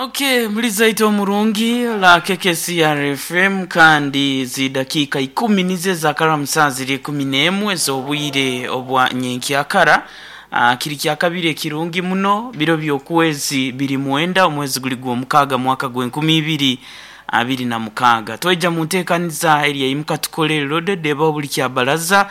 Okay, mulizaita omurungi la KKCR FM kandi zidakiika ikumi nizo ezakara musaa ziri 11 ez'obwire obwa nyenkyakara. Kiri kyakabiri ekirungi muno biro by'okwezi biri mwenda omwezi guli gw'omukaaga mwaka gw'enkumi ibiri abiri na mukaaga. Twaija mu nteekaniza eri eimuka tukole loaded ebaho buli kyabaraza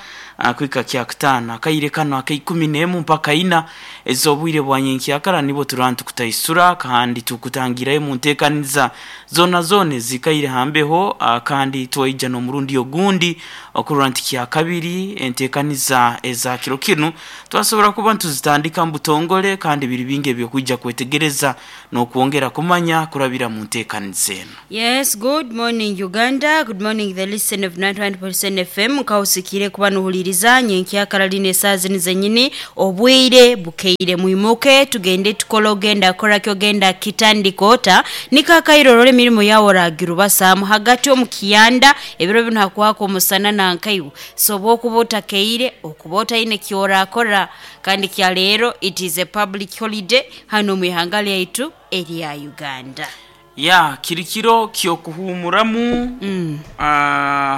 kuhika kyakutaano. Akaire kano ak'eikumi n'emu mpaka ina ez'obwire bwa nyenkyakara nibwo turaba nitukutaisura kandi tukutangirayo mu nteekaniza zoona zoona ezikaire ha mbeho kandi twaija n'omurundi ogundi okurora nti kyakabiri enteekaniza eza kiro kinu twasobora kuba nituzitandika mu butongole kandi biri bingi eby'okwija kwetegereza n'okwongera kumanya kurabira mu nteekaniza enu. Yes, good morning Uganda. Good morning the listen of 91.7 FM. Nkausikire kuba nuhuliriza nyenkyakara lino esaaha zinu zenyini obwire bukeire mwimuke tugende tukole ogenda kora kyogenda kitandika ota nikakaire orole emirimu yawe oragirubasaamu hagati omu kiyanda ebiro binu hakwaka omusana nankaiwe so obwokuba otakeire okuba otaine kyorakora kandi kya leero it is a public holiday hanu omu ihanga lyaitu erya Uganda. Ya, kiri kiro ky'okuhuumuramu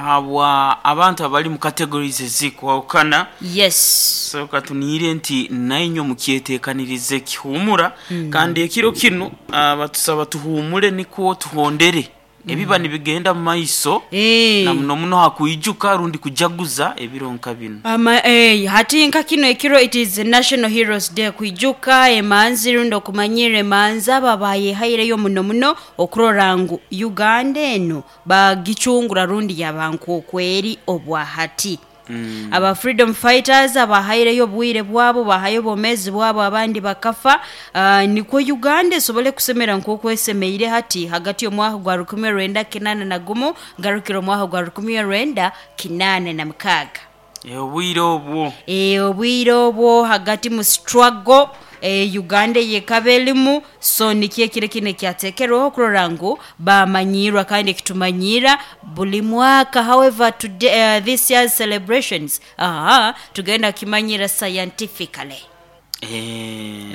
habwa abantu abali mu categories ezikwahukana. Yes. So katuniire nti nainywe mukyeteekanirize kihuumura kandi ekiro kinu batusaba tuhuumule nikwo tuhondere ebiba nibigenda mu maiso na muno muno ha kwijuka rundi kujaguza ebiro nka binu. Ama, hati nka kino ekiro it is National Heroes Day kwijuka emanzi rundi okumanyirra emanzi abo abayehaireyo muno muno okurora ngu Uganda eno bagicungura rundi yaba nk'okweri obwa hati. Aba freedom fighters abahaireyo obwire bwabo, bahayo obwomeezi bwabo abandi bakafa nikwo Uganda esobole kusemera nk'oku esemeire hati hagati y'omwaka gwa 1981 ngarukira omwaka gwa 1986. Obwire obwo. Obwire obwo hagati mu struggle Uganda eyekaba erimu so nikyo ekiro kinu ekyateekerweho okurora ngu bamanyirwa kandi ekitumanyirra buli mwaka however today, this year's celebrations aha tugenda kimanyira scientifically.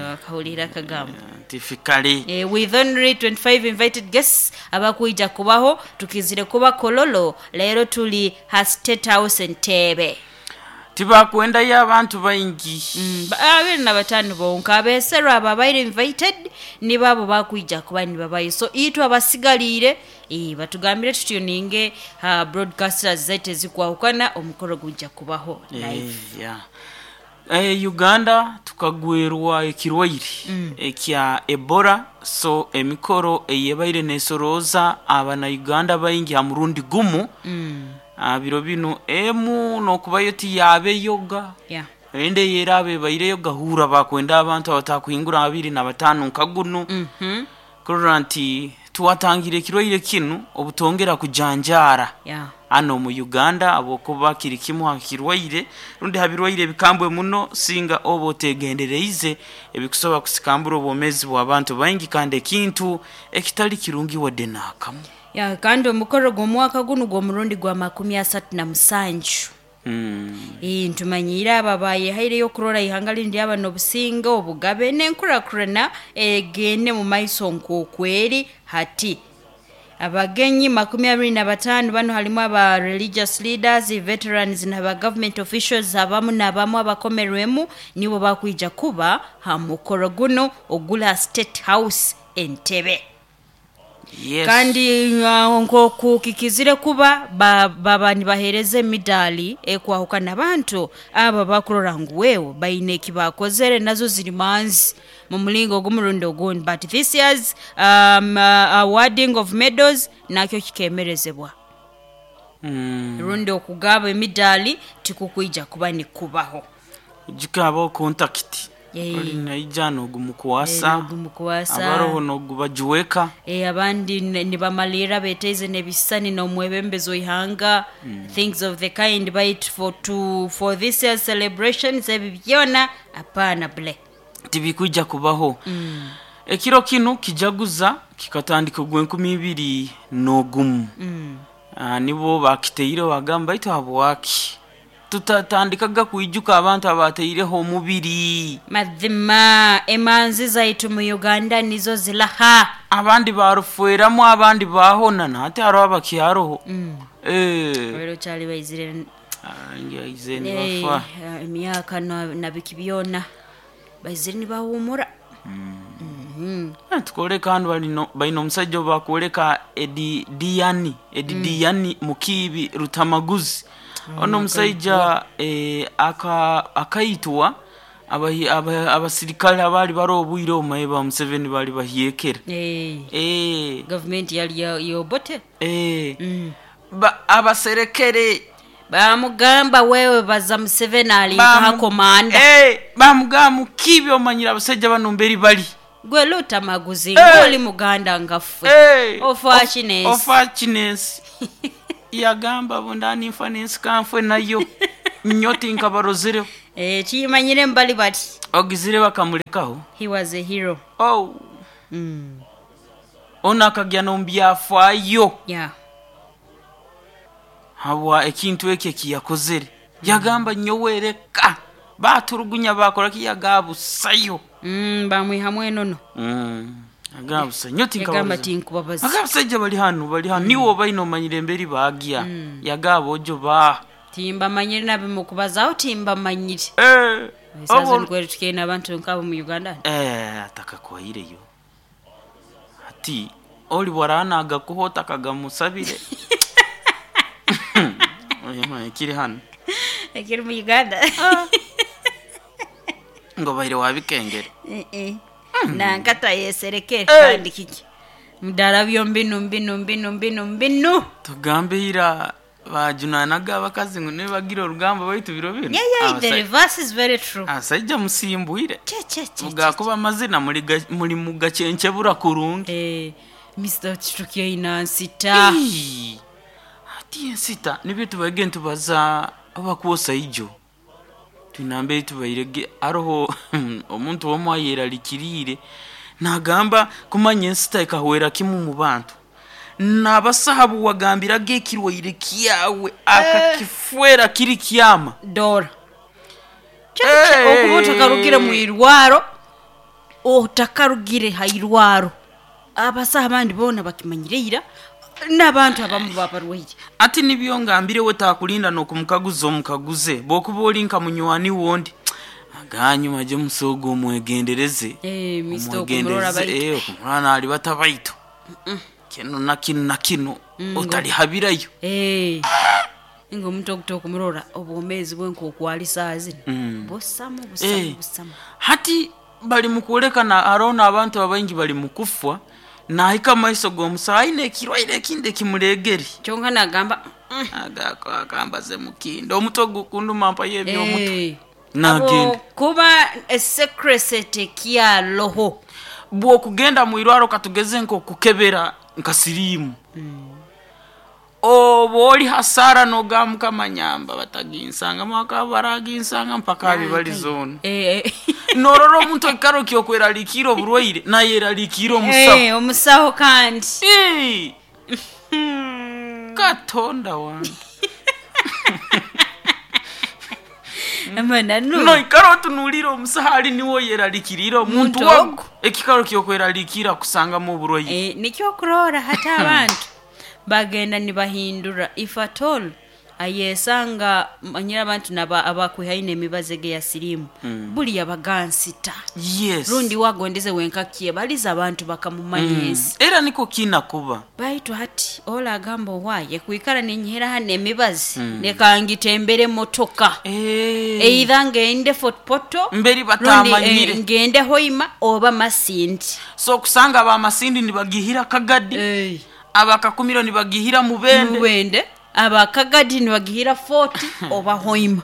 Wakahulira akagambo. Scientifically. With only 25 invited guests abakwija kubaho tukizire kuba Kololo leero tuli ha State House Entebbe. Tibakwendayo abantu baingi. 25 bonka abeeserwe abo abaire invited nibo abo bakwija kuba nibabayo so itwe abasigaliire batugambire tutuninge ha broadcasters zaitu ezikwahukana omukoro gujja kubaho live. Yeah. Uganda tukagwerwa ekirwaire ekya Ebola so emikoro eyebaire neesorooza abanauganda baingi ha murundi gumu biro binu emu n'okubayo tiyaabeyoga. Ende ey'eraaba ebaireyo gahuura bakwenda abantu abatakuhingura 25 nka gunu kurora nti twatangira ekirwaire kinu obutongera kujanjaara hanu omu Uganda habwokuba kiri kimu ha kirwaire rundi ha birwaire ebikambwe muno singa oba otegendereize ebikusobora kusikambura obwomeezi bw'abantu baingi kandi ekintu ekitali kirungi wadde n'akamu. Ya, kandi omukoro gw'omwaka gunu gw'omurundi gwa 37. Ntumanyiire abo abayehaireyo okurora ihanga linu lyaba n'obusinge, obugabe n'enkurakurana egende mu maiso nk'okweri hati. Abagenyi 25 bano halimu aba religious leaders, veterans n'aba government officials abamu n'abamu abakomerwemu nibo bakwija kuba ha mukoro guno oguli ha State House Entebbe. Yes. Kandi nk'oku kikizire kuba baba nibaheereza emidaali ekwahukana abantu abo abakurora ngu wewe baine eki baakozere nazo ziri manzi mu mulingo ogumu rundi ogundi but this year's awarding of medals nakyo kikemerezebwa. Rundi okugaba emidaali tikukwija kuba nikubaho. Gikabaho contact. Oli naija n'ogumukwasa, N'ogumukwasa. abaroho n'ogubajuweka. Abandi nibamalirra beeteize n'ebisisani n'omwebembezi w'ihanga things of the kind baitu for this year's celebrations ebi byona apaana bule. Tibikwija kubaho. Ekiro kinu kijaguza kikatandika ogw'enkumi ibiri n'ogumu. Nibo bakitaireho bagamba baitu habwaki? Tutatandikaga kwijuka abantu abataireho omubiri. Mazima emanzi zaitu mu Uganda nizo zilaha. Abandi barufweramu, abandi bahona, nahati hariho abakyaroho. Eh. Rero kyali baizire. Ngiaize nibafa. Emyaka na biki byona baizire nibahumura. Tukoleka hanu baina omusajja bakwoleka Edi Diani, Edi Diani Mukiibi Rutamaguzi. Ono omusajja akaitwa abasirikale abali bari obwire obumaye ba Museveni bali bahyekera. Gavumenti yali yobote. Abaserekere bamugamba wewe baza Museveni ali nka komanda. Bamugamba Mukiibi omanyira abasajja bano mberi bali. Gwe Lutamaguzi ng'oli muganda ngaffe. Ofa kinensi. Ofa kinensi. Yagamba bundani nfa n'ensi kanfwe nayo. Nyoti nkabarozereho. Kiyimanyire mbali bati. Ogizire bakamulekaho. He was a hero. Oh. Ono akagya n'omubyafaayo. Habwa ekintu ekyo ekiyakozere. Yagamba nyowereka. Baturugunya bakora ki yagabusayo. Bamwihamu enono. Agabusa nyoti Yagamba tinkubabaza. Agabusajja bali hano, bali hano. Niwo baino omanyire emberi bagya. Yagaba ojo ba. Timbamanyire nabimukubazaho timbamanyire. Esaza nkwere tukeina abantu nkabo mu Uganda. Atakakwaireyo. Ati oli warana agakuhota kagamusabire. Oya maye kiri hano. Ekiri mu Uganda. Ngo baire wabikengere. Nankata yesereke kandi kiki. Mudara byombi mbinu mbinu mbinu mbinu. Tugambe ira bajunanaga abakazi ngo nibagira orugamba baitu biro bino. Yeah, the reverse is very true. Abasajja musimbwire. Che che che. Mugakuba amazina muri mu gacencebura kurungi. Mr. Chitukia inansita. Ati ensita nibyo tubaige ntubaza abakuosa ijo. Tunambe tubairege aroho omuntu omwe ayeralikirire nagamba kumanya ensita ekahwera kimu mu bantu. Nabasahabu wagambiraga ekirwaire kyawe akakifwera kiri kyama. Dora. Okuba otakarugire mu irwaro, otakarugire ha irwaro. Abasaha abandi bona bakimanyire ira n'abantu abamu babarwaire. Ati nibyo ngambire we takulinda n'okumukaguza omukaguze bwokuba oli nka munywani wondi aganyuma je musogo omwegendereze. Mr. Okumurora baitu. Okumurora nali batabaitu. Kino na kino na kino otalihabirayo. Ingo omuntu okuta okumurora obwomezi bwe nkokwali saa zino. Busamu busamu busamu. Hati bali mukulekana arona abantu abaingi bali mukufwa nahika maiso g'omusawo aine ekirwaire ekindi ekimuregere. Kyonka nagamba akambaze mukindo omutwe gukunduma mpayo eby'omutwe. Nagenda. Kuba esekresete kyaloho. Bw'okugenda mu irwaro katugeze nk'okukebera nka siriimu. Oba oli hasara n'ogamuka manyamba bataginsanga mwaka baraginsanga mpaka abibaliza ono. Norora omuntu ekikaro kyokweraliikira oburwaire nayeraliikira omusawo. Omusawo kandi. Katonda wange. Amana no. No ikaro otunuulira omusawo ali niwe oyeralikirira omuntu wago. Ekikaro kyokweraliikira kusangamu oburwaire. Nikyo okurora hati abantu bagenda nibahindura if at all ayesanga manyira abantu naba abakwihaine emibaze ge ya sirimu. Buli yabagansita. Yes. Rundi wagondeze wenkakiye baliza abantu bakamumanya ensi. Era niko kina kuba. Baitu hati ola agamba waye kuikara ninyihera hano emibazi nekangitembere motoka. Either ngende Fort Portal mberi batamanyire ngende Hoima oba Masindi. So kusanga aba Masindi nibagihira Kagadi. Abakakumiro nibagihira Mubende. Mubende. Abakagadi nibagihira Fort oba Hoima.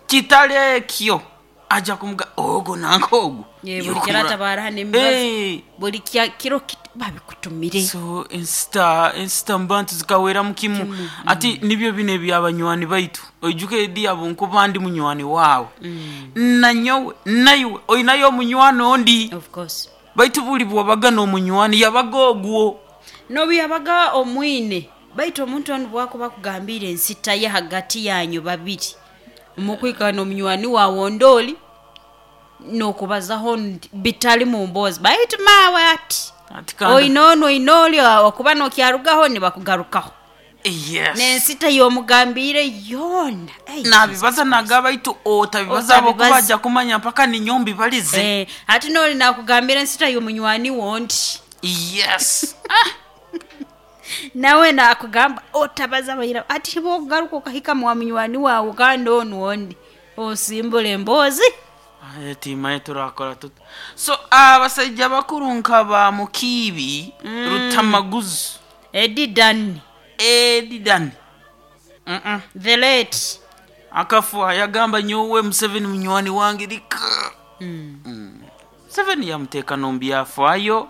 Kitale ekyo aja kumuga ogo nankogo. Buli kirata baraha n'emibazi. Buli kiro babikutumire. So ensita mbantu zikawera mukimu. Ati nibyo bine byabanywani baitu. Oijuke edi abo nkuba ndi munywani wawe. Nanyowe naiwe oinayo munywani ondi. Of course. Baitu buli bwabaga n'omunywani yabaga ogwo. Nobi yabaga omwine. Baitu omuntu ono bwako bakugambira ensita ye hagati yanyu babiri. Mukwikara n'omunywani waawe ondooli n'okubazaho nti bitali mu mboozi baitu maawe ati Ati kandi oine onu oine oli okuba n'okyarugaho nibakugarukaho. Yes. N'ensita y'omugambiire yoona. Ei, Nabibaza Jesus naga baitu otabibaza abo Otabibaza. kubajja kumanya mpaka ninyo mbibalize. Eh, hati n'oli nakugambira ensita y'omunywani wondi. Yes. Nawe nakugamba otabaza baira ati bwokugaruka okahika mwa munywani wawe kandi onu ondi osimbula emboozi. Aye, timaye turakora tuta. So abasajja bakuru nka ba Mukiibi, Rutamaguzi, Eddie Dan, Edidan. The late. Akafa yagamba nyowe Museveni munywani wange lika. Museveni yamuteeka n'omubyafaayo.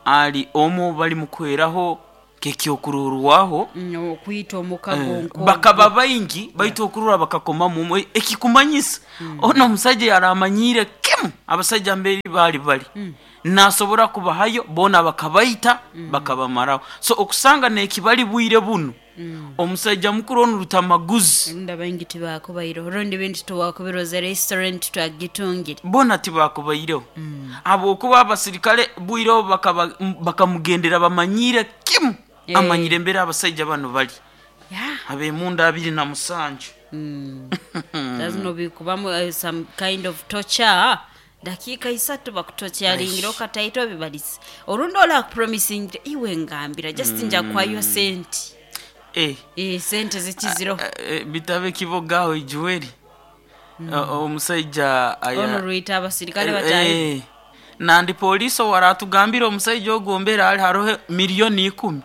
Ali omu bali mukweraho kekyokurorwaho. Okwita omukago nko Bakaba baingi baitu okurora bakakomamu omwe ekikumanyisa ono omusajja yaramanyiire kimu abasajja mberi baali bali nasobora kubahayo boona bakabaita bakabamaraho. So okusanga nekibali bwire bunu omusajja mukuru onu Rutamaguzi Rundi abaingi tibakubaireho rundi bintu tuwakubiroze restaurant twagitungire. Bona tibakubaireho habwokuba abasirikale bwireho bakamugendera bamanyiire kimu. Amanyire embere abasajja bano bali ab'emunda 27. Lazima bikubamu some kind of torture dakika isatu bakutokyaringira okataito bibalisi orundi ola promising iwe ngambira just nja kwayo sente. Sente zikiziro. Bitabe kibogaho ijuweri omusajja ono rwita abasirikale batayi. Nandi polisi waratugambira omusajja ogwo mbere ali haroho 10,000,000.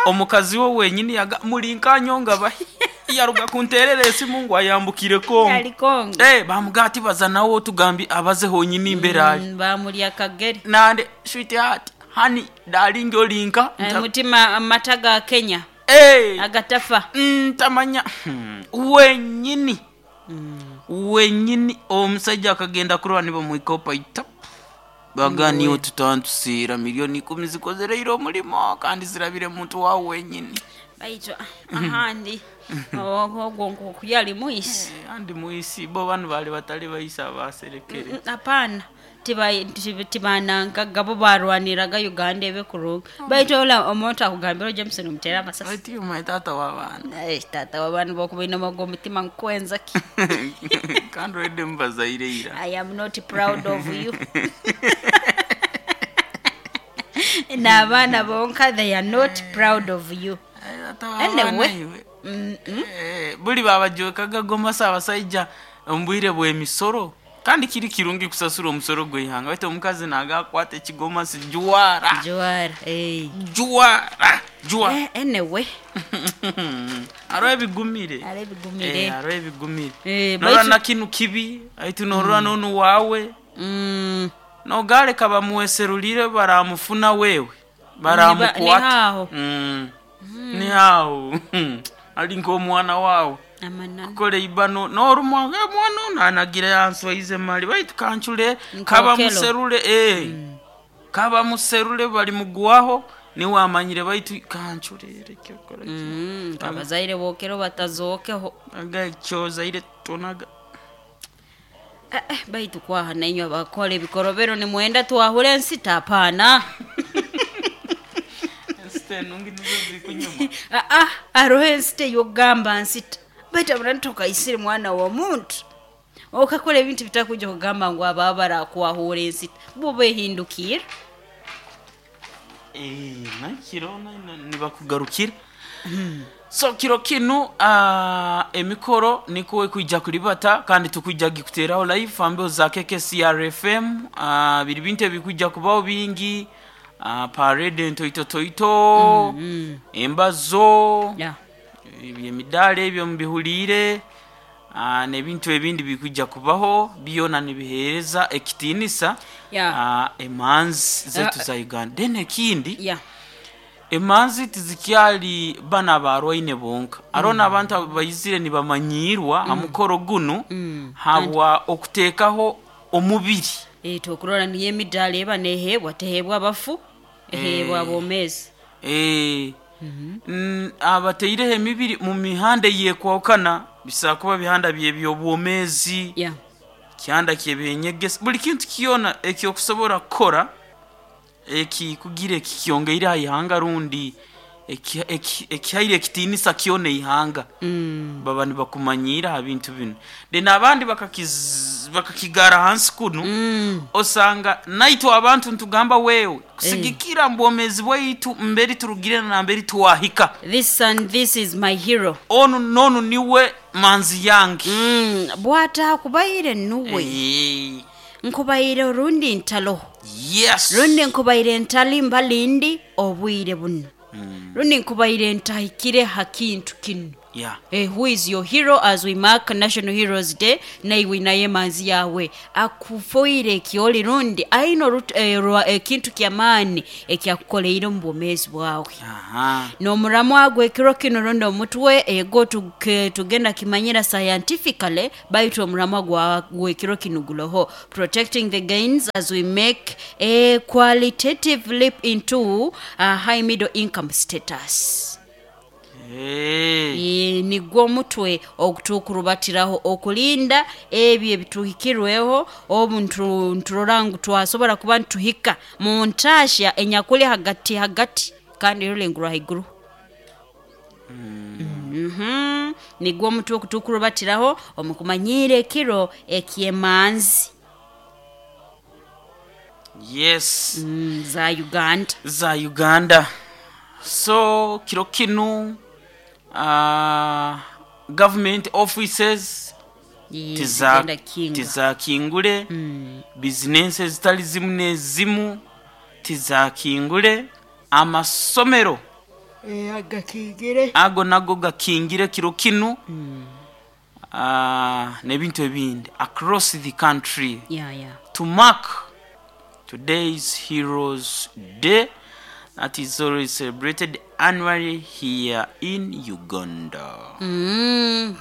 Omukazi we wenyini yaga mulinkanyonga bahi yaruga kunterera esimu ngu ayambukire Kongo. Ali Kongo. Bamuga ati baza nawe otugambi abaze honyini imbere ali. Bamulya kagere. Nande sweetheart honey darling olinka Mutima amata ga Kenya. Agatafa. Ntamanya wenyini. Wenyini omusajja akagenda kurwa nibo mwikopa itap. Baganiyo tutantusira 10,000,000 zikozereire omulimo kandi zirabire muntu wawe wenyini. Baitu ahandi ogwo nk'okuyali mwisi. Andi mwisi bo banu bali batali baisa abaserekere. Hapana tibanangaga bo barwaniraga Uganda ebe kurunga. Baitu ola omuntu akugambira Jameson omutera amasasi. Baitu my tata w'abaana. Tata w'abaana bokubaine omu omutima nkwenza ki. Kandi oide mubazaire ira. I am not proud of you. N'abaana bonka they are not proud of you. Tata w'abaana Anyway. iwe. Buli babajwekaga gomasa abasajja omu bwire bw'emisoro. Kandi kiri kirungi kusasura omusoro gw'eihanga baitu omukazi naga akwata ekigomasi juwara. Juwara. Juwara. Juwara. Anyway. Hariho ebigumire. Hariho ebigumire. Hariho ebigumire. Norora na kinu kibi, aitu norora n'onu waawe. Nogaleka bamuweserulire baramufuna wewe. Baramukwata. Ni haho. Ni haho. Ali nk'omwana wawe. Amananu. Kukora eibano n'orumwa mwana ono anagira yanswaize mali baitu kancure Nkokelo. kaba muserule kaba muserule bali mugwaho niwe amanyire baitu kancurere kyokora. Abazaire bokero batazokeho. Aga kyozaire tonaga. Baitu kwaha nainywe abakora ebikorobero nimwenda twahura ensita hapana. Ensita enungi nizo zikunyuma. Hariho ensita ey'okugamba nsita baitu abura ntokaisire mwana w'omuntu okakora ebintu bitakuja kugamba ngu aba barakwahura ensita bo behindukira. Nakiro nibakugarukira. So kiro kinu emikoro niko ekwijja kulibata kandi tukwijja gikuteraho live ambeho za KKCRFM. Biri bintu ebikwijja kubaho bingi. Parade entoitotoito, embazo, emidaala ebyo mubihuliire, n'ebintu ebindi bikwijja kubaho byona nibiheereza ekitiinisa emanzi zaitu za Uganda. Then ekindi, emanzi tizikyali bana abarwaine bonka. Hariho n'abantu abaizire nibamanyirwa ha mukoro gunu habwa okuteekaho omubiri. Tokurora niyo emidaala eba neheebwa teheebwa abafu eheebwa abomeezi. Abataireho emibiri mu mihanda eyekwahukana. Bisobola kuba bihanda by'ebyobwomeezi, kihanda ky'ebyenyegesa, buli kintu kyona ekyokusobora kukora ekikugira ekikyongeire ha ihanga rundi ekihaire ekitiinisa kyona ihanga, baba nibakumanyiira ha bintu binu. Then abandi bakakigara hansi kunu, osanga naitwe abantu nitugamba wewe kusigikira mu bwomeezi bwaitu mberi turugire na namberi twahika. This and this is my hero. Onu n'onu niwe manzi yange. Bwatakubaire nuwe. Nkubaire orundi ntaloho. Yes. Rundi nkubaire ntali mbalindi obwire bunu. Rundi nkubaire ntahikire ha kintu kinu. Who is your hero as we mark National Heroes Day? Naiwe naye emanzi yawe akufoire ekyoli rundi aine ekintu ky'amaani ekyakukoleire omu bwomeezi bwawe. N'omuramwa gw'ekiro kinu rundi omutwe ego tugenda kimanyira scientifically, baitu omuramwa gw'ekiro kinu guloho protecting the gains as we make a qualitative leap into a high middle income status. Nigwo omutwe ogutukurubatiraho okulinda ebyo ebituhikirweho obu nturora ngu twasobora kuba nituhika mu ntaahya enyakuli hagati hagati kandi erulengo rwa haiguru. Nigwo omutwe ogutukurubatiraho omu kumanyiira ekiro eky'emanzi. Yes. Za Uganda. Za Uganda. So kiro kinu government offices tizakingule, bizinensi ezitali zimu n'ezimu tizakingule, amasomero agakingire, ago nago gakingire kiro kinu, n'ebintu ebindi across the country to mark today's Heroes Day that is always celebrated annually here in Uganda.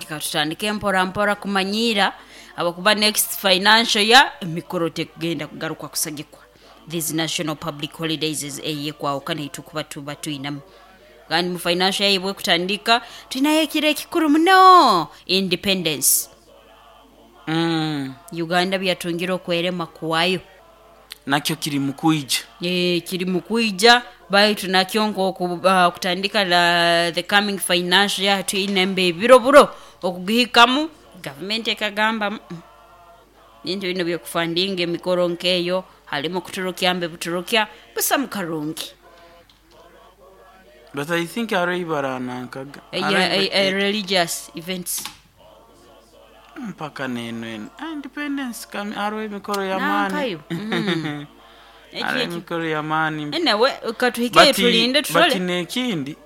Katutandike mpora mpora kumanyiira abakuba next financial year emikoro tekugenda kugaruka kusagikwa. These national public holidays is eyekwawukana eitukuba tuba twinamu. Kandi mu financial year bwe kutandika twinayo ekiro ekikuru muno, independence. Uganda byatungire okwerema kwayo. Nakyo kiri mu kwija. Kiri mu kwija baitu nakyo nk'oku kutandika the coming financial year twine mbe ebiro buro okugihikamu gavumenti ekagamba bintu bino byokufandinga emikoro nkeyo halimu kuturukya mbe buturukya busa mukarungi. But I think hariho baranankaga. Religious events. Mpaka neno eno. Independence kami hariho emikoro y'amaani. Nankayo. Hariho emikoro y'amaani. Anyway, katuhikeyo tulinde But tutole. n'ekindi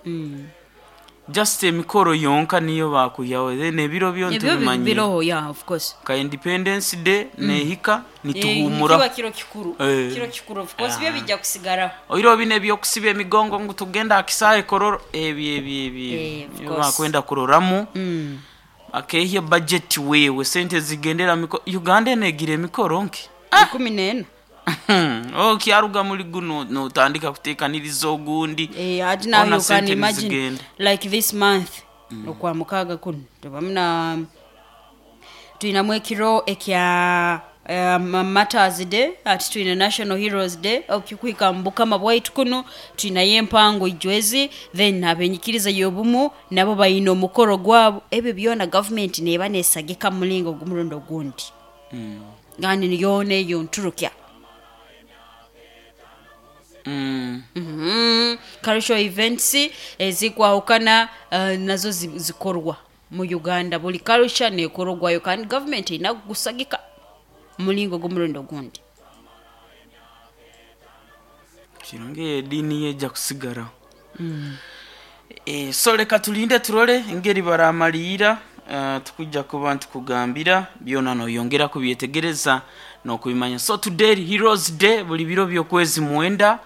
just emikoro yonka niyo bakuhyaho then ebiro byo Ebyo ntubimanyire. biroho, yeah, of course. Ka Independence Day nehika nituhumura. Kiba kiro kikuru. Kiro kikuru of course byo bijja kusigaraho. Oiro bino ebyokusiba emigongo ngu tugenda akisaahe kororo ebyo ebyo ebyo. Of Ebyo course. bakwenda kuroramu. Akehya budget wewe sente zigendera miko Uganda enegira emikoro nki? 14. Okyaruga muri guno notandika kutekaniriza ogundi. Ati now Ona you can sente imagine nizigenda. like this month okwa mukaaga kuno tubamuna twinamu ekiro ekya Martyrs Day, ati twina National Heroes Day okikuhika mu bukama bwaitu kuno twinayo empango ijwezi, then abenyikiriza y'obumu nabo bayina omukoro gwabo. Ebyo byona government neba nesagika mu mulingo ogw'omurundi ogundi. Kandi niyoona eyo nturukya. Cultural events ezikwahukana nazo zikorwa mu Uganda, buli culture nekorwayo kandi government erina kugusagika mulingo gw'omurundi ogundi. Kirungi ediini yejja kusigaraho. So leka tulinde turole engeri baramaliira, tukujja kuba ntukugambira byona noyongera kubyetegereza n'okubimanya. So today Heroes Day buli biro by'okwezi 9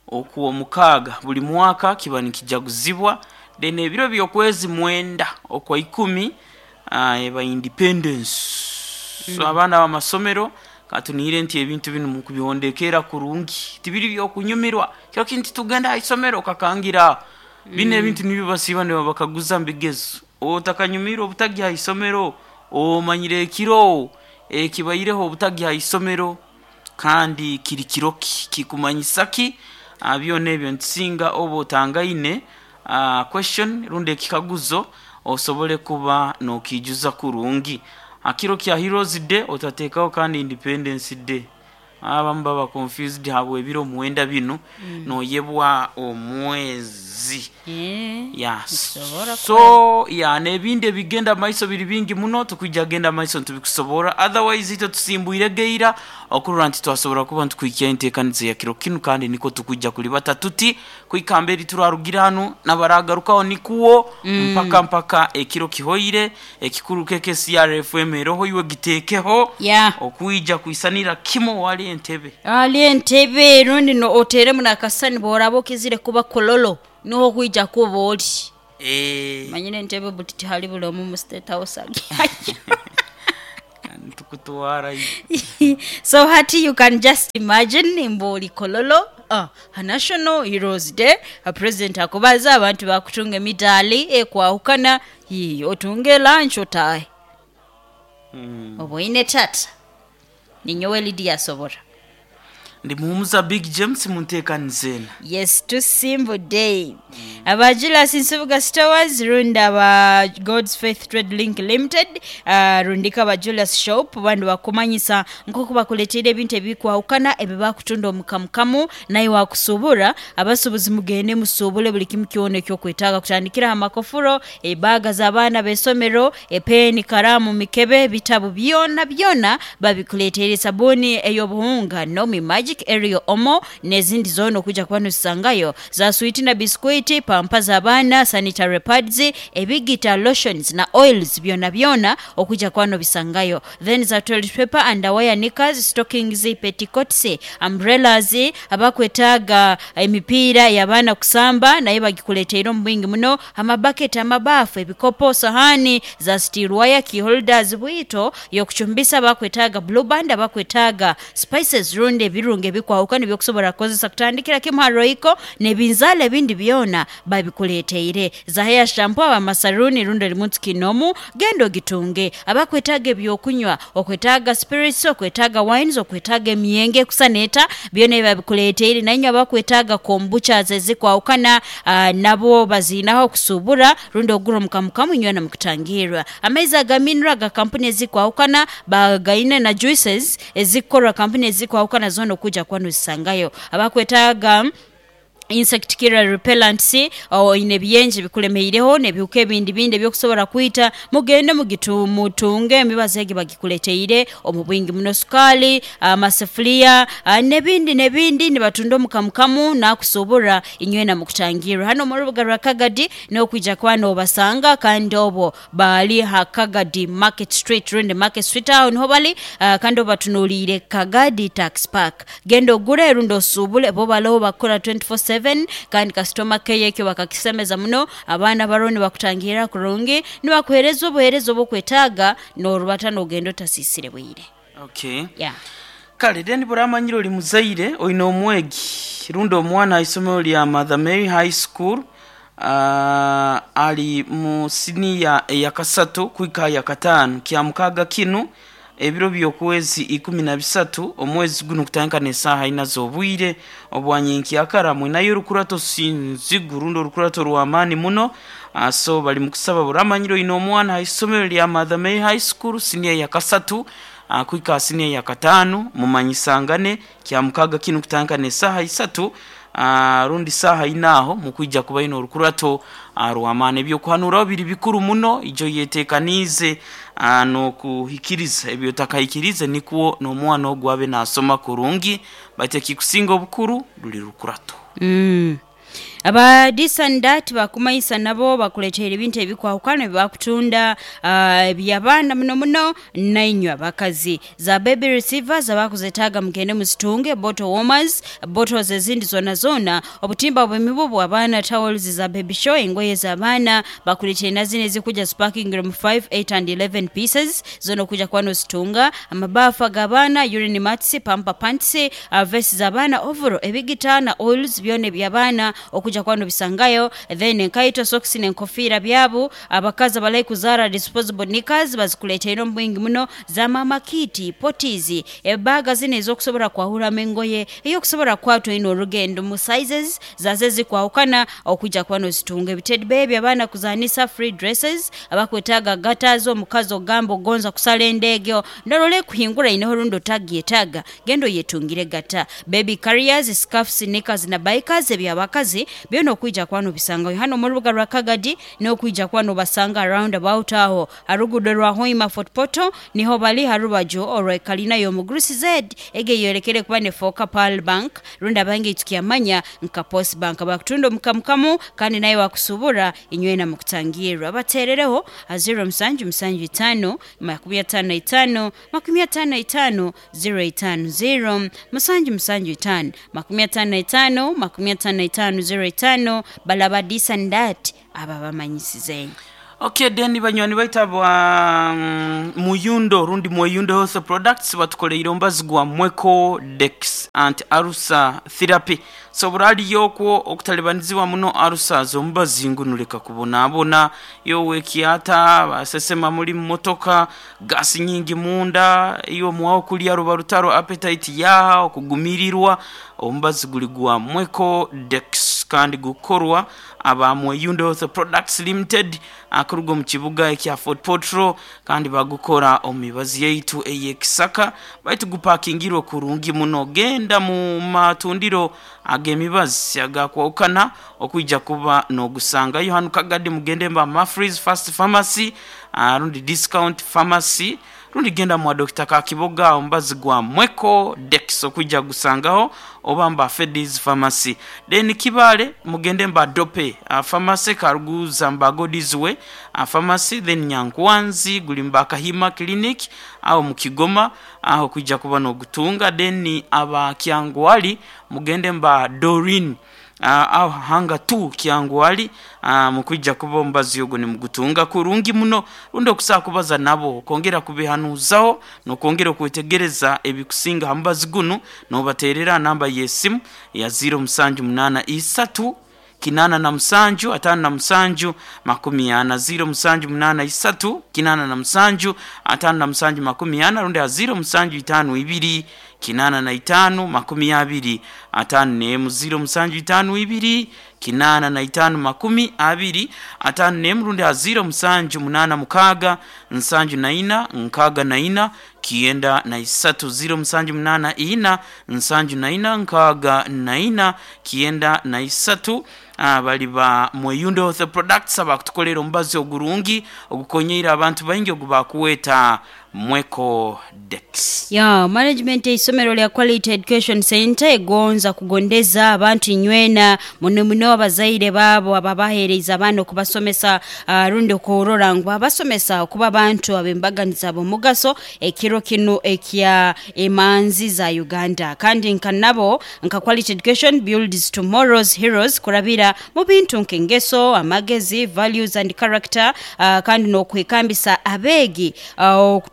okuwa mukaaga buli mwaka kiba nikijaguzibwa. Then ebiro by'okwezi 9 okwa 10 eba independence. So abaana b'amasomero katunire nti ebintu binu mukubihondekera kurungi tibiri byokunyumirwa kyo kintu tugenda ha isomero kakangira bino ebintu nibyo basiba ne bakaguza mbigezo. Otakanyumiire obutagi ha isomero, omanyire ekiro ekibaireho obutagi ha isomero kandi kiri kiro ki, kikumanyisa ki? Byona ebyo nitusinga oba otangaine question rundi ekikaguzo osobole kuba nokiijuza kurungi. Ha kiro kya Heroes Day otateekaho kandi Independence Day. Abamu baba confused habw'ebiro mwenda binu, noyebwa omwezi. Yeah. Nikisobora So yeah, n'ebindi ebigenda maiso biri bingi muno, tukwija genda maiso nitubikusoborra. Otherwise itwe tusimbwire geira okurora nti twasobora kuba nitukuhikyaho enteekaniza ya kiro kinu kandi nikwo tukwija kulibata tuti kuhika mberi turarugira hanu n'abaragarukaho nikwo mpaka mpaka ekiro kihoire. Ekikuru KKCR FM eroho iwe giteekeho okwija kwisanira kimwe wali Entebbe. Ali Entebbe rundi no oteeremu n'akasisani bw'oraaba okizire kuba Kololo niho okwija kuba oli. Manyire Entebbe buti tihali buli omu mu State House agyayo. Nitukutwarayo. So hati you can just imagine mbu oli Kololo ha National Heroes Day, President akubaza, abantu baakutunga emidaali ekwahukana, yii otunge lunch otaahe. Oboine tata? Ninyowe Lydia Asobora. Ndi Muhumuza Big James munteekaniza eno. Yes tusimbudde. Aba Julius Nsubuga Stores rundi aba God's Faith Trade Link Limited rundika aba Julius Shop bandi bakumanyisa nk'oku bakuleteire ebintu ebikwahukana ebi bakutunda omu kamukamu naye wakusubura. Abasubuzi mugende musubule buli kimu kyona eky'okwetaaga kutandikira aha makofuro, ebaaga z'abaana b'eisomero, epeeni, karaamu, mikebe, ebitabu byonabyona babikuleteire, sabuuni ey'obuhunga, Nomi Magic, Ariel, Omo n'ezindi zoona okwija kuba nozisangayo, za swiiti na bisikwiti, pampa z'abaana, sanitary pads, ebigita, lotions na oils byonabyona okwija kuba nobisangayo. Then za toilet paper, underwear, knickers, stockings, petticoats, umbrellas, abakwetaaga emipiira y'abaana kusamba nayo bagikuleteire omu bwingi muno, amabaketi, amabaafu, ebikopo, sahaani za steel wire, key holders, bwito y'okucumbisa, abakwetaaga blue band, abakwetaaga spices rundi ebirungo ebikwahukana eby'okusobora kukozesa kutandikira kimu ha royco n'ebinzaali ebindi byona babikuleteire. Za hair shampoo, ab'amasaluuni rundi oli muntu kinoomu genda ogitunge. Abakwetaaga eby'okunywa, okwetaaga spirits, okwetaaga wines, okwetaaga emyenge ekusana eta, byona ebyo babikuleteire. Nainywe abakwetaaga kombuchas ezikwahukana nabo baziinaho okusuubura rundi ogura omu kamukamu inywena mukutangirra. Amaizi aga mineral aga kampuni ezikwahukana bagaine na juices ezikukorwa kampuni ezikwahukana zoona okwija kuba nozisangayo. Abakwetaaga insect killer repellents, oine ebiyenje bikulemeireho n'ebihuka ebindi bindi eby'okusobola kwita, mugende mutunge emibazi egyo bagikuleteire omu bwingi muno. Sukaali, amasefuliya n'ebindi n'ebindi nibatunda omu kamukamu n'akusuubura inywena mukutangirra. Hanu omu rubuga rwa Kagadi n'okwija kuba n'obasanga kandi obwo Bali ha Kagadi Market Street rundi Market Street agho niho bali kandi obatunuliire Kagadi Tax Park. Genda ogule rundi osuubule bo balowo bakukora twenti fo seveni kandi kasitoma keya ekyo bakakisemeza muno. Abaana balowo nibakutangiirira kurungi nibakuheereza obuheereza obwokwetaaga n'orubata n'ogenda otasiisire bwire. Okay. Yeah. Kale then bw'oramanyire oli muzaire oine omwegi rundi omwana ha isomero lya Mother Mary High School ali mu siniya eyakasatu kuhika aha yakataano Kyamukaaga kinu ebiro by'okwezi ikumi na bisatu omwezi gunu kutandika n'esaaha ina z'obwire obwa nyenkyakara mwinayo orukurato sinzigu rundi orukurato rw'amaani muno so bali mukusaba bw'oramanyire oine omwana ha isomero lya Mother Mary High School siniya eyakasatu kuhika aha siniya eyakataano mumanyisangane Kyamukaaga kinu kutandika n'esaaha isatu rundi saaha ina aho mukwija kuba aine orukurato rw'amaani. Eby'okuhanuraho biri bikuru muno, ijo oyeteekaniize n'okuhikiriza ebi otakahikiriize nikwo n'omwana ogu abe naasoma kurungi baitu ekikusinga obukuru ruli rukurato. Aba This and That bakumanhisa nabo bakuleteire ebintu ebikwahukana bye bakutunda eby'abaana muno muno nainywe abakazi. Za baby receivers abakuzetaaga mugende muzitunge, bottle warmers, bottles ezindi zonazona, obutimba bw'emibubu, abaana towels za baby show, engoye z'abaana, bakuleteire na zino ezikuja zipakingire mu five, eight and eleven pieces zona okuja kuba nozitunga, amabaafu ag'abaana, urine mats, pamper pants, vesi z'abaana, ovoro, ebigita na oils byona eby'abaana. okuja kuba nobisangayo. Then enkaito, sokisi n'enkofiira byabu. Abakazi abalahi kuzaara disposable knickers bazikuleeteire omu bwingi muno, za maama kiiti, poties, ebaaga zinu ez'okusobora kwahuramu engoye, ey'okusobora kukwata oine orugendo mu sizes zazo ezikwahukana okwija kuba nozitunga. Ebitedi beebi abaana kuzaanisa, free dresses, abakwetaaga gutters, omukazi ogamba ogonza kusala endeegyo ndora ekuhingura ineho rundi otagyetaaga, genda oyetungire gata. Baby carriers, scarfs, knickers na bikers eby'abakazi byona okwija kuba nobisangayo hanu omu rubuga rwa Kagadi n'okwija kuba nobasanga round about agho ha luguudo rwa Hoima Fort Portal niho bali ha rubaju orwa kalina y'omugurusi Z ego eyolekere kuba nefooka Pearl Bank rundi abaingi tukyamanya nka Post Bank. Bakutunda omukamukamu kandi naye bakusubura inywena mukutangirra. Bateerereho ha ziro musanju musanju itaano makumi ataano na itaano makumi ataano na itaano ziro itaano ziro musanju musanju itaano makumi ataano na itaano makumi ataano na itaano ziro itaano balaba this and that aba bamanyisize. Ok then banywani baitu aba Muyundo rundi Mweyundo Health Products batukoleire omubazi gwa Mweko Dex Anti Ulcer Therapy. Sobora aliyo okwo okutalibanizibwa muno ulcers omubazi ngunu leka kubonabona. Iwe owekyata, basesema muli mu motoka, gas nyingi munda, iwe omuwa okulya ruba rutaro appetite yaha, okugumirirwa, omubazi guli gwa Mweko Dex kandi gukorwa aba Mweyundo Health Products Limited akuruga omu kibuga ekya Fort Portal kandi bagukora omu mibazi yaitu ey'ekisaka baitu gupakingirwe kurungi muno. Genda mu matundiro ag'emibazi agakwahukana okwija kuba n'ogusangayo. Hanu Kagadi mugende mba Mafreeze Fast Pharmacy rundi Discount Pharmacy rundi genda mwa Dokita Kakiboga omubazi gwa Mweko Dex okwija gusangaho oba mba Fedis Pharmacy. Then Kibaale mugende mba Dope Pharmacy, Karuguza mba Godizwe Pharmacy, then Nyankwanzi guli mba Kahima Clinic aho mu Kigoma aho okwija kuba n'ogutunga. Then aba Kyangwali mugende mba Doreen aho Hanga 2 Kyangwali mukwija kuba omubazi ogwo nimugutunga kurungi muno rundi okusobola kubaza nabo okwongera kubehanuuzaho n'okwongera okwetegereza ebikusinga ha mubazi gunu n'obateerera namba y'esimu ya ziiro musanju munaana isatu kinaana na musanju ataano na musanju makumi ana, ziiro musanju munaana isatu kinaana na musanju ataano na musanju makumi ana rundi ha ziiro musanju itaano ibiri kinaana na itaano makumi abiri ataano n'emu, ziiro musanju itaano ibiri kinaana na itaano makumi abiri ataano n'emu rundi ha ziiro musanju munaana mukaaga nsanju na ina nkaaga na ina kienda na isatu, ziiro musanju munaana ina nsanju na ina nkaaga na ina kienda na isatu. Bali ba Mweyundo Health Products abakutukolera omubazi ogurungi ogukonyeire abantu baingi ogubakuweta Mweko Dex. Ya management eisomero lya Quality Education Centre egonza kugondeza abantu inywena muno muno abazaire baabo ababaheereize abaana okubasomesa rundi okurora ngu babasomesa okuba abantu ab'embaganiza ab'omugaso ekiro kinu ekya emanzi za Uganda. Kandi nka nabo nka Quality Education builds tomorrow's heroes kurabira mu bintu nk'engeso, amagezi, values and character kandi n'okwekambisa abeegi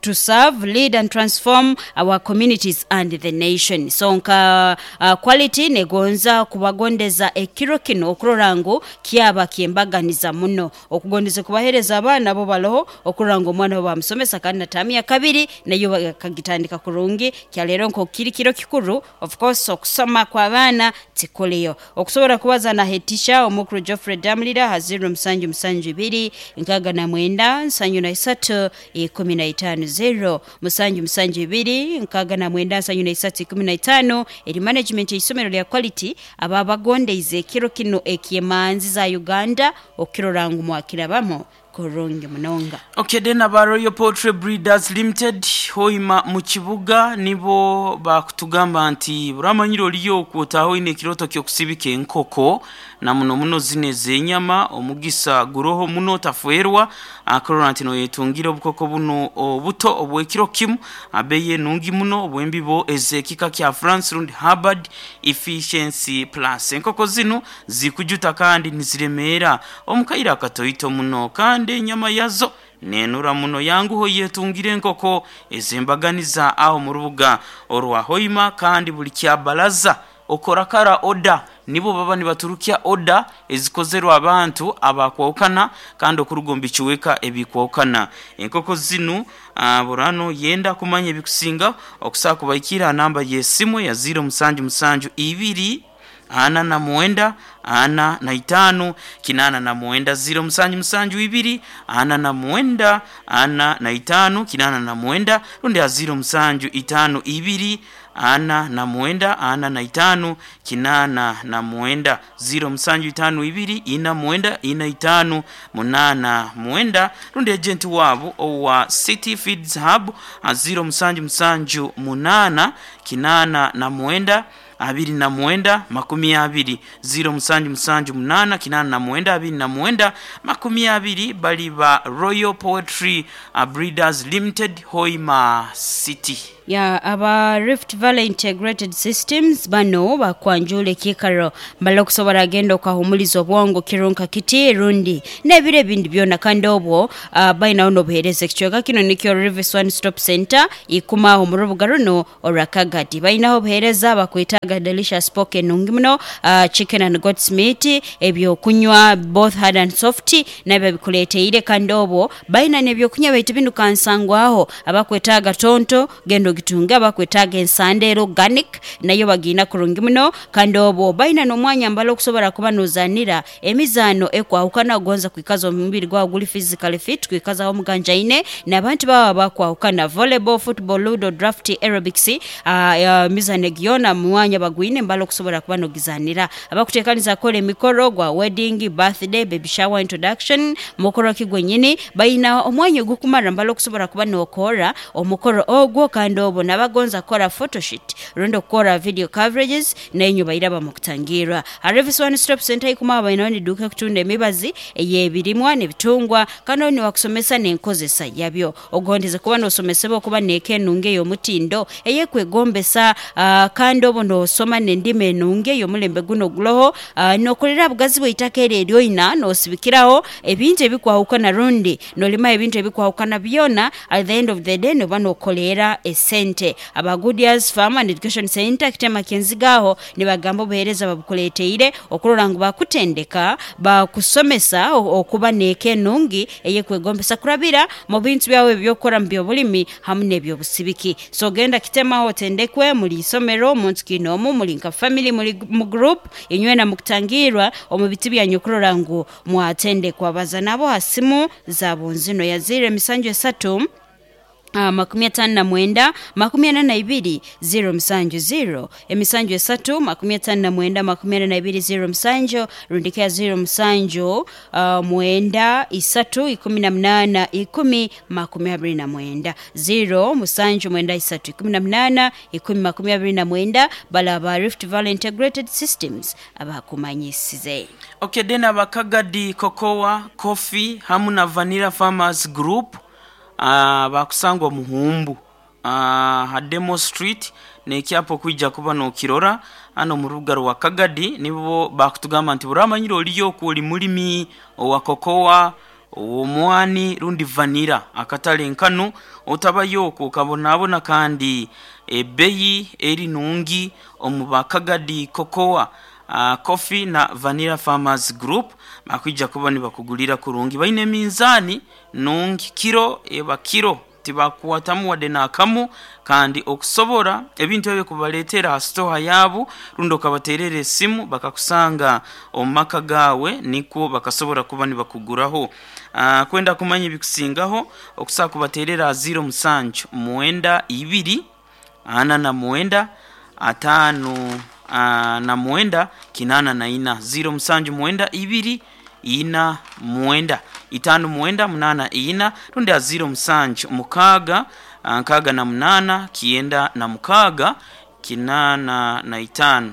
to serve, lead and transform our communities and the nation. So nka Quality negonza kubagondeza ekiro kinu okurora ngu kyaba kyembaganiza muno. Okugondeza kubahereza abaana bo baloho okurora ngu omwana bo bamusomesa kandi na taamu ya kabiri nayo bakagitandika kurungi. Kyaleero nk'oku kiri kiro kikuru, of course okusoma kw'abaana tikuliyo. Okusobora kubaza na head teacher omukuru Geoffrey Damulira ha ziro musanju musanju ibiri nkaaga na mwenda nsanju na isatu ikumi na itaano, ziro musanju musanju ibiri nkaaga na mwenda nsanju na isatu ikumi na itaano. Eri management y'eisomero lya Quality ababagondeize ekiro kinu eky'emanzi za Uganda okukirora ngu mwakirabamu kurungi munonga. Ok then aba Royal Poultry Breeders Limited Hoima mu kibuga nibo bakutugamba nti buramanyire oliyo okwotaho oine ekiroto ky'okusibika enkoko na muno muno zino ez'enyama omugisa guroho muno otafwerwa akurora nti noyetungira obukoko bunu obuto obw'ekiro kimu abeeyi enungi muno obw'embibo ez'ekika kya France rundi Hubbard Efficiency Plus. Enkoko zinu zikujuta kandi niziremeera omu kaire akatoito muno kandi enyama yazo nenura muno. Yanguha oyetungire enkoko ez'embaganiza aho mu rubuga orwa Hoima kandi buli kyabalaza Okora kara oda nibo baba nibaturukya oda ezikozerwe abantu abakwahukana kandi okuruga omu bicweka ebikwahukana. Enkoko zinu burano yenda kumanya ebikusinga okusobola kubaikira ha namba y'esimu ya 077 2 49 45 89 077 2 49 45 89 rundi ha 0752 49 45 89 0752 49 45 89 rundi agenti waabo owa City Feeds Hub ha 0778 89 29 20 0778 89 29 20 bali ba Royal Poetry Breeders Limited Hoima City. Ya aba Rift Valley Integrated Systems bano bakwanjuula ekiikaro mbale okusobola agenda okahumuliza obwongo kirunka kiti rundi n'ebiro ebindi byona kandi obwo bainagho n'obuhereza. Ekicweka kino nikyo Rivis One Stop Centre ikuma agho mu rubuga runo olwa Kagadi. Bainagho obuhereza bakwetaaga delicious pork enungi muno, chicken and goat's meat, eby'okunywa both hard and soft nabyo babikuleteire kandi obwo baina n'ebyokunywa baitu binu kansangwaho abakwetaaga tonto Genda ogitunge abakwetaaga ensanda era organic nayo bagiina kurungi muno kandi obwo baina n'omwanya mbale okusobola kuba n'ozanira emizaano ekwahukana ogonza kwikaza omubiri gwawe guli physically fit kwikazaho omuganjaine n'abantu bawe abakwahukana volleyball, football, ludo, draft, aerobics emizaano egi yoona mwanya bagwine mbale okusobola kuba n'ogizanira. Abakuteekaniza kukora emikoro gwa wedding, birthday, baby shower, introduction, mukoro ki gwenyini baina omwanya ogukumara mbale okusobola kuba n'okoora Omukoro ogwo kandi obwo n'abagonza kukora photoshoot rundi okukora video coverages nainywe bairaba mu kutangiirwa. Harvest One Stop Centre eikumaho abainaho n'eduuka ekutunda emibazi ey'ebirimwa n'ebitungwa kandi obu nibakusomesa n'enkozesa yabyo. Ogondeze kuba n'osomesebwa okuba n'eka enungi ey'omutindo ey'ekwegombesa kandi obwo n'osoma n'endima enungi ey'omulembe guno oguloho. N'okolera bugazi bw'eitaka eryo eryoina n'osibikiraho ebintu ebikwahukana rundi Nolima ebintu ebikwahukana byona, at the end of the day noba nokoleera esente. Aba Goodyears Farm and Education Centre Kitema Ky'enziga agho nibagamba obuheereza babukuleeteire okurora ngu bakutendeka, bakusomesa okuba n'eka enungi ey'ekwegombesa kurabira mu bintu byawe eby'okukora mu by'obulimi hamu n'eby'obusibiki. So genda Kitema otendekwe, muli isomero, muntu kiinoomu, muli nka family, muli mu group, inywena mukutangiirwa omu biti byanyu okurora ngu Mwatendekwa baza nabo ha simu za bunzino ya ziiro emisanju esatu, 59 42 0 7 ziiro emisanju esatu, 59 42 0 7 rundi ke ya ziiro musanju, mwenda isatu, 18 10 29 ziiro musanju mwenda isatu, 18 10 29 bale aba Rift Valley Integrated Systems abakumanyisize. Ok then aba Kagadi Cocoa, Coffee hamu na Vanilla Farmers Group bakusangwa Muhumbu ha Demo Street n'ekyapa okwija kuba n'okirora hanu omu rubuga rwa Kagadi nibo bakutugamba nti buramanyire oliyo oku oli mulimi owa cocoa, ow'omwani rundi vanilla akatale nkanu otabayo oku okabonabona kandi ebbeyi eri nungi omu ba Kagadi Cocoa Coffee na Vanilla Farmers Group bakwija kuba nibakugulira kurungi. Baine eminzaani nungi, kiro eba kiro tibakukwatamu wadde n'akamu kandi okusobora ebintu ebyo kubaleetera ha sitoha yaabu rundi okabateerera esimu bakakusanga omu maka gaawe nikwo bakasobora kuba nibakuguraho. Kwenda kumanya ebikusingaho okusobola kubateerera ha ziiro musanju mwenda ibiri 49 59 84, ziiro musanju mwenda ibiri ina mwenda itaanu mwenda munaana ina rundi aha ziiro musanju mukaaga 68 96 85,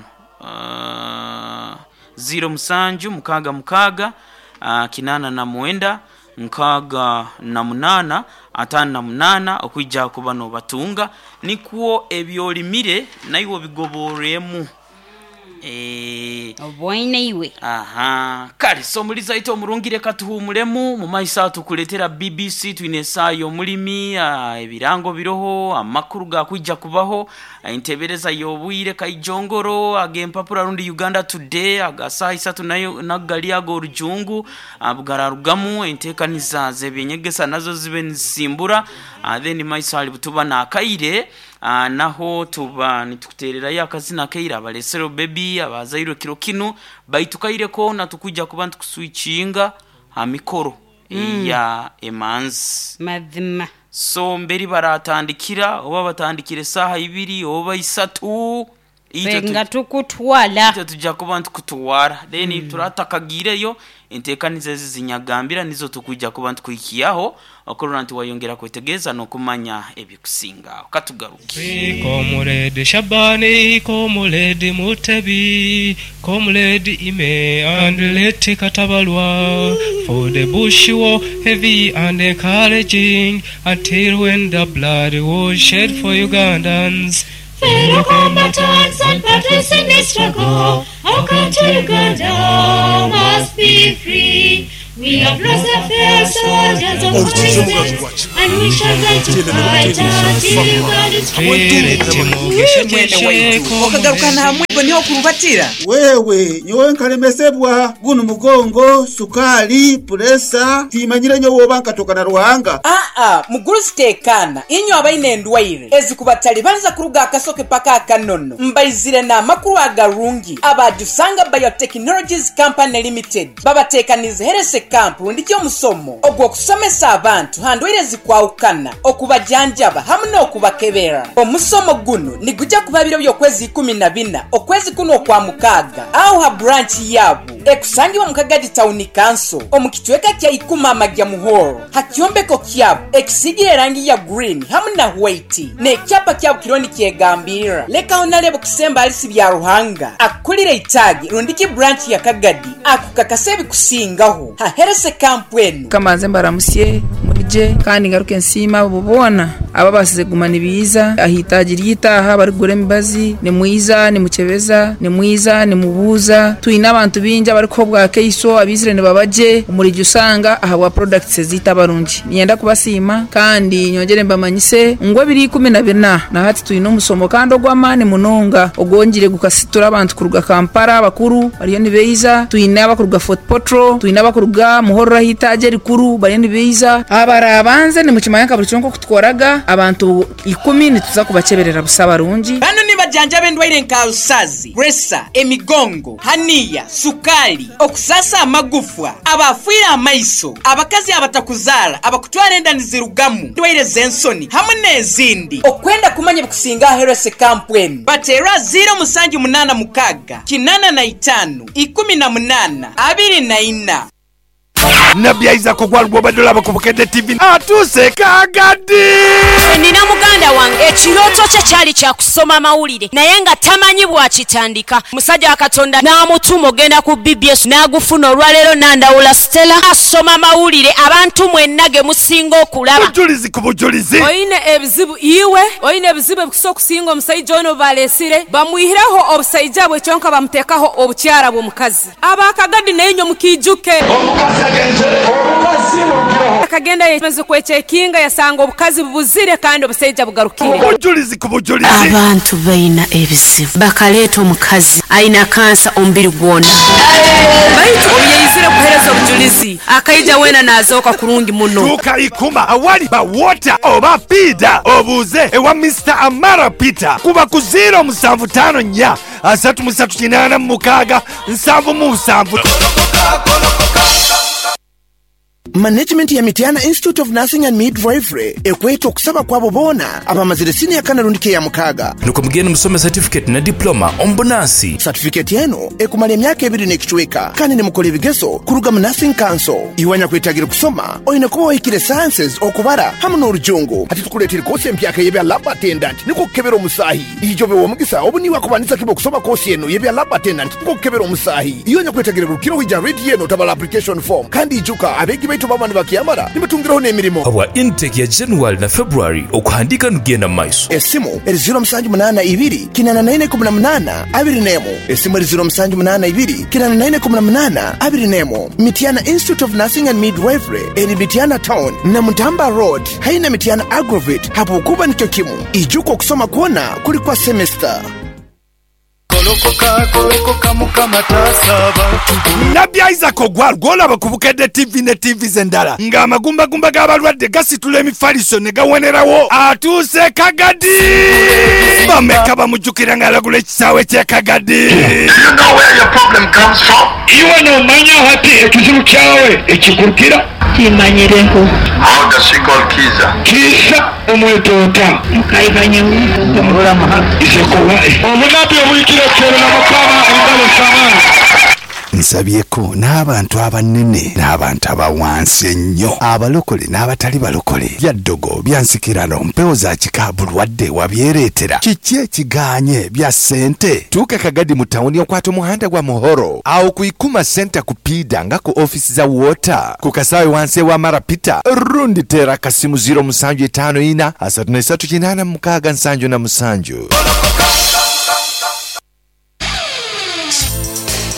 ziiro musanju mukaaga mukaaga 89 68 58 okwija kuba nobatunga nikwo ebyolimire naiwe obigoborremu. Eh, Obwoine iwe. Aha, kale so muliza ite omurungi, reka tuhumulemu mu maiso aho tukuletera BBC. Twine esaaha y'omulimi, ebirango biroho, amakuru gakwija kubaho, entebereza y'obwire kaijongoro ag'empapura rundi Uganda Today aga saaha isatu nayo nagali ag'orujungu, bugararugamu enteekaniza z'ebyenyegesa nazo zibe nizisimbura. Then maiso ali butuba n'akaire, naho tuba nitukutererayo akazina kaire abalesero bebi abazairwe kiro kinu, baitu kaire koona tukwija kuba nitukuswikinga ha mikoro ya emanzi. Mazima. So mberi baratandikira oba batandikira esaaha 2 oba 3, itwe Ffe nga tukutwala. Itwe tujja kuba ntukutwara, then turatakagiireyo enteekaniza ezi zinyagambira nizo tukwija kuba ntukuhikiyaho okurora nti wayongera kwetegereza n'okumanya ebikusingaho. Katugaruke. Comrade Shabani, Comrade Mutebi, Comrade Ime and Leti Katabalwa, for the bush war heavy and encouraging until when the blood was shed for Ugandans. Fellow combatants and partners in this struggle, our country Uganda must be free. We have lost the fair soldiers of resistance, and we shall die to fight until Uganda is free. Mwene waitu okagarukana hamwe niho kurubatira. Wewe nyowe nkalemesebwa guno mugongo, sukali, puresa, timanyire nyowe oba nkatoka na Ruhanga. Aa, mugurusi tekana, inywe abaine endwaire ezikubatali banza kuruga akasoke paka akanono, mbaizire n'amakuru agarungi. Abajusanga Biotechnologies Company Limited babatekanize herese camp rundi ky'omusomo ogw'okusomesa abantu handwaire zikwawukana, okubajanjaba hamwe n'okubakebera. Omusomo guno nigujja kuba biro by'okwezi 14 okwezi kuno okwa mukaaga, aho ha branch yabo ekusangibwa mu Kagadi Town Council omu kitweka kya Ikuma Amagya Muhoro, ha kyombeko kyabo ekisigire erangi ya green hamwe na white n'ekyapa kyabo kironi kyegambirira. Lekaho nalebo kusemba alisi bya Ruhanga akulire itagi rundiki branch ya Kagadi akukakasa ebikusingaho ha herese camp enu. Kamanze mbaramusye murije kandi ngaruke nsiima abo boona ababasize kuguma nibiiza ahitaagi ry'itaaha barikugura emibazi, nimwiza nimukyebeza, nimwiza nimubuuza. Twine abantu bingi abarikuha obwakaiso abaizire nibabagye omurigi usanga ahabwa products eziita abarungi. Niinyenda kubasiima kandi nyongere mbamanyise ngu ebiro 14 na hati twine omusomo kandi ogw'amaani munonga ogwongire gukasitura abantu kuruga Kampala, abakuru bariyo nibeiza, twine abakuruga Fort Portal, twine abakuruga Muhorro ahitaagi erikuru bariyo nibeiza. Abarabanze nimukimanya nka buri kimwe nk'oku tukoraga, abantu 10 nituza kubaceberera busa abarungi. Bano nibajanjaba endwaire nka rusazi, presa, emigongo, haniya, sukali, okusasa amagufwa, abafiire amaiso, abakazi abatakuzaara, abakutwara enda nizirugamu, endwaire z'ensoni hamwe n'ezindi. Okwenda kumanya ebikusinga herese camp enu, bateera 0786 85 18 24. Nabbi Isaac ogwalugwa obadde olaba ku Bukedde TV atuuse Kagadi. Nina muganda wange ekirooto kye kyali kya kusoma mawulire naye nga tamanyi bw'akitandika. Musajja wa Katonda n'amutuma ogenda ku BBS n'agufuna. Olwaleero Nandawula Stella asoma mawulire abantu mwenna ge musinga okulaba. Bujulizi ku bujulizi. Oyine ebizibu iwe, oyine ebizibu ebikusa okusinga omusaija ono balesire, bamwihireho obusaija bwe kyonka bamuteekaho obukyara bw'omukazi. Abakagadi naye mukiijuke. Akagenda yemaze kwekyekinga yasanga obukazi bubuzire kandi obusaija bugarukire. Bujulizi ku bujulizi. Abantu baina ebizibu bakaleeta omukazi aina kansa omubiri gwona. Baitu obuyaizire kuhereza obujulizi akaija wena nazooka kurungi muno. Tuuka Ikuma awali ba water oba piida obuuze ewa Mr. Amara Peter kuba ku 0754 338 77. Management ya Mitiana Institute of Nursing and Midwifery ekweta okusaba kwabo boona abamazire siniya kana rundi ya mukaaga. Nuko mugende musome certificate na diploma omu bunansi. Certificate eno ekumala emyaka 2 n'ekicweka kandi nimukora ebigezo kuruga mu Nursing Council. Iwanya kwetagira kusoma oyine kuba wahikire sciences, okubara hamwe n'orujungu. Ati tukuleetera kosi empyaka y'ebya lab attendant niko kukebera omusaahi. Ijobe w'omugisa obu niwe akubanisa kiba okusoma kosi eno y'ebya lab attendant niko kukebera omusaahi. Iyo nya kwetagira rukiro wija redi eno tabala application form kandi ijuka abeegi baitu. Abantu baba nibakyamara nibatungiraho n'emirimo. Habwa intake ya January na February okuhandiika nigenda mu maiso. Esimu eri 0782 84 18 21. Esimu eri 0782 84 18 21. Mityana Institute of Nursing and Midwifery eri Mityana Town, Namutamba Road haihi na Mityana Agrovet habwokuba nikyo kimu. Ijuka okusoma kwona kuli kwa semester. Nabbi Isaac Ogwal gw'olaba ku Bukedde TV ne ttiivi endala ng'amagumbagumba g'abalwadde gasitula emifaliso ne gawonerawo atuuse e Kagadi! Bameka bamujjukira ng'alagula ekisaawe ky'e Kagadi? Iwe nomanya hati ekizibu kyawe ekikurukira? Kimanyireho. How does she call Kiza? Kiza omweta ota? Obunabi obuhikire kero na Mukama engalo z'amaani. Nsabyeko n'abantu abanene n'abantu aba wansi ennyo, abalokole n'abatali balokole. Bya ddogo, bya nsikirano, mpewo za kika, bulwadde wabyereetera. Kiki ekigaanye? Bya ssente? Tuuka e Kagadi mu tawuni okwate omuhanda gwa Muhoro awo ku Ikuma Centre ku Piida nga ku ofiisi za Water ku kasaawe wansi ewa Mara Peter rundi teera akasimu 0754 33 86 77.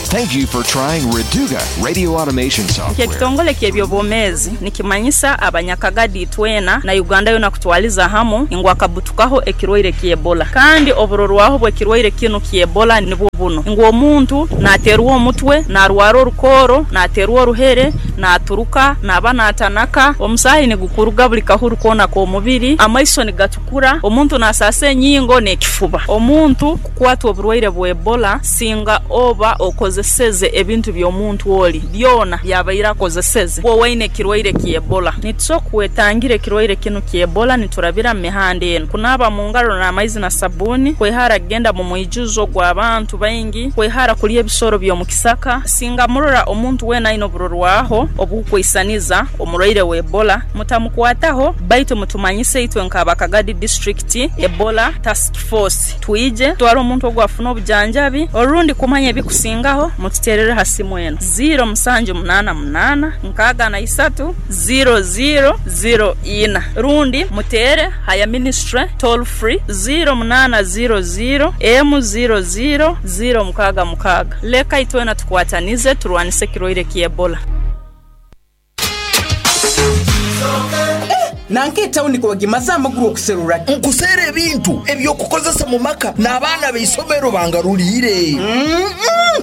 Thank you for trying Reduga Radio Automation Software. Nk'ekitongole ky'ebyobwomeezi nikimanyisa abanyakagadi itwena na Uganda yoona kutwaliza hamu ngu akabutukaho ekirwaire ky'Ebola. Kandi oburorwaho bw'ekirwaire kinu ky'Ebola nibwo bunu ngu omuntu naaterwa omutwe, naarwara orukooro, naaterwa oruhere, naaturuka, naaba naatanaka, omusaahi nigukuruga buli kahuru koona k'omubiri, amaiso nigatukura, omuntu naasaasa enyingo n'ekifuba. Omuntu kukwatwa oburwaire bwa Ebola singa oba okozeseze ebintu by'omuntu oli byona byabaire akozeseze bwoba oine ekirwaire ky'Ebola. Nitusobora kwetangira ekirwaire kinu ky'Ebola niturabira mu mihanda enu: kunaaba mu ngaro n'amaizi na sabbuuni, kwehara kugenda mu mwijuzo gw'abantu baingi, kwehara kulya ebisoro by'omu kisaka. Singa murora omuntu weena aine oburorwaho obukwisaniza omurwaire wa Ebola, mutamukwataho baitu mutumanyise itwe nk'Abakagadi District Ebola Task Force twije tutwale omuntu ogu afune obujanjabi orundi kumanya ebikusingaho mututeerere ha simu enu 0788 63 0004 rundi muteere ha ya ministry toll free 0800 emu 00 066. Leka itwena tukwatanize turwanise ekirwaire ky'Ebola. Nanka etawuni kowagimaze amaguru okuserura ki? Nkuseera ebintu eby'okukozesa mu maka n'abaana b'eisomero bangaruliire.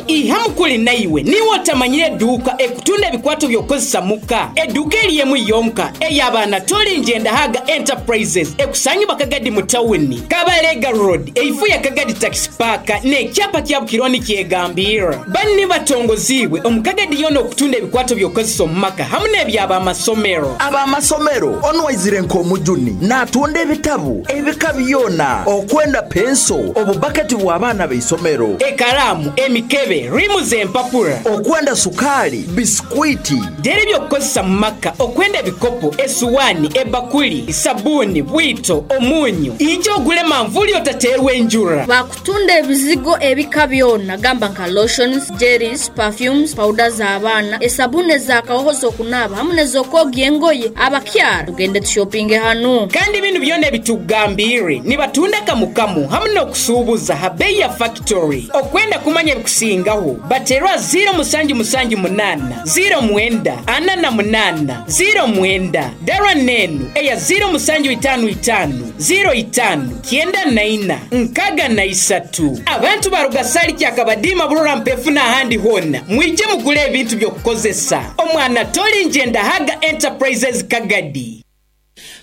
Ihamu kuli naiwe niiwe otamanyire edduuka ekutunda ebikwato by'okukozesa muka. Edduuka eri emu yonka ey'abaana Toli Njendahaga Enterprises ekusangibwa Kagadi mu tawuni, Kabalega Road eifu ya Kagadi Taxi Park n'ekyapa kya Bukironi kyegambirra. Banu ni batongoziibwe omu Kagadi yoona okutunda ebikwato by'okukozesa omu maka hamu n'eby'abamasomero. Ab'amasomero onu aizire nk'omujuni n'atunda ebitabu ebika byona okwenda penso, obubaketi bw'abaana b'eisomero, ekalaamu, emikebe, riimu z'empapura, okwenda sukaali, bisikwiti, Dera eby'okukozesa mu maka okwenda ebikopo, esuwaani, ebakuli, sabbuuni, bwito, omunyu. Ija ogule manvuuli otateerwa enjura. Bakutunda ebizigo ebika byona gamba nka lotions, jellies, perfumes, powder z'abaana, esabuni ez'akahoho z'okunaaba hamu n'ez'okwogya engoye. Abakyara tugende tushopinge hanu. Kandi binu byona ebitukugambiire nibatunda kamukamu hamu n'okusuubuza ha beeyi ya fakitori. Okwenda kumanya ebikusingaho bateerwa 0778 09 48 09 Dara n'enu eya 0755 05 94 63. Abantu baruga Sali Kyakabadiima Burora Mpefu n'ahandi hoona mwije mugule ebintu by'okukozesa. Omwana Toli Njendahaga Enterprises Kagadi.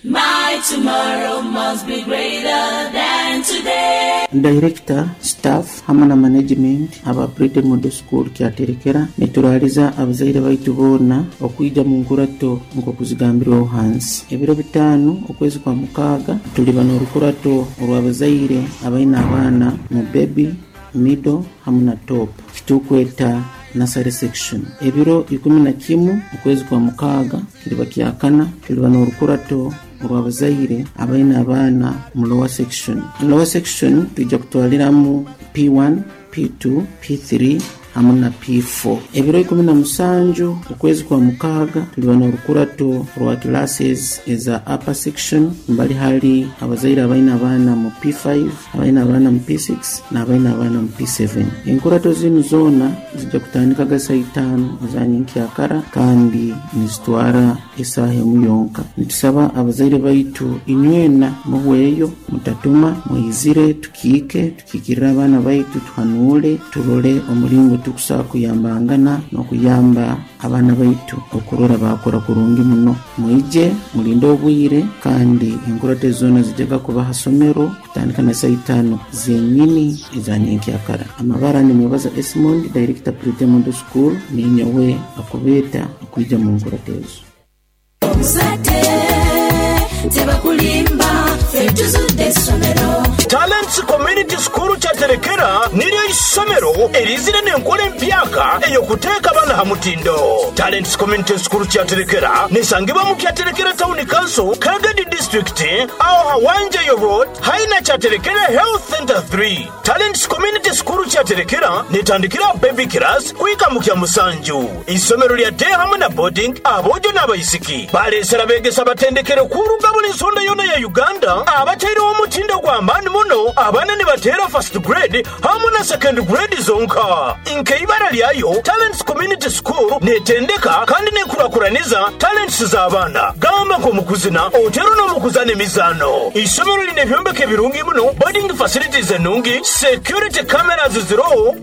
My tomorrow must be greater than today. Director, staff hamwe na management aba Brede Model School Kyaterekera nituraaliza abazaire baitu boona okwija mu nkurato nk'okuzigambirweho hansi. Ebiro bitaano okwezi kwa mukaaga tuliba n'orukurato orw'abazaire abaine abaana mu baby, middle hamwe na top kitukweta nursery section. Ebiro 11 okwezi kwa mukaaga kiriba kyakana tuliba n'orukurato orw'abazaire abaine abaana mu lower section. Mu lower section twija kutwaliramu P1, P2, P3 hamu na P4. Ebiro 17 okwezi kwa mukaaga tuliba n'orukurato rwa classes eza upper section, mbali hali abazaire abaina abaana mu P5, abaina abaana mu P6 n'abaina abaana mu P7. Enkurato zinu zoona zijja kutandikaga saa 5 za nyenkyakara kandi nizitwara esaaha emu yonka. Nitusaba abazaire baitu inywena muhweyo, mutatuma, muizire, tukiike, tukiikirire abaana baitu, tuhanuule, turole omulingo tukusobola kuyambangana n'okuyamba abaana baitu okurora bakora kurungi muno. Mwije mulinde obwire, kandi enkurato zoona zijjaga kuba ha somero kutandika na saa 5 zenyini eza nyenkyakara. Amabara nimwebaza Esmond, director Pretty Model School, ninyowe akubeeta okwija mu nkurato ezo. Tebakulimba, ffe tuzudde essomero. Talents Community School Kyaterekera niryo isomero erizire n'enkola empyaka ey'okuteeka abaana ha mutindo. Talents Community School Kyaterekera nesangibwa mu Kyaterekera Town Council, Kagadi District, aho Hawanjayo Road, haina Kyaterekera Health Center 3. Talents Community School Kyaterekera netandikira baby class kuhika mu kya musanju. Isomero lya day hamwe na boarding, abojo n'abaisiki balesera begesa batendekere kuruga buli nsonda yona ya Uganda, abataireho omutindo gw'amaani muno. Abaana nibateera first grade hamwe na second grade zonka. Nkeibara lyayo Talents Community School netendeka kandi nekurakuraniza talents z'abaana, gamba nk'omukuzina otero n'omukuzana emizaano. Isomero lina ebyombeko ebirungi muno, boarding facilities enungi, security cameras ziroho.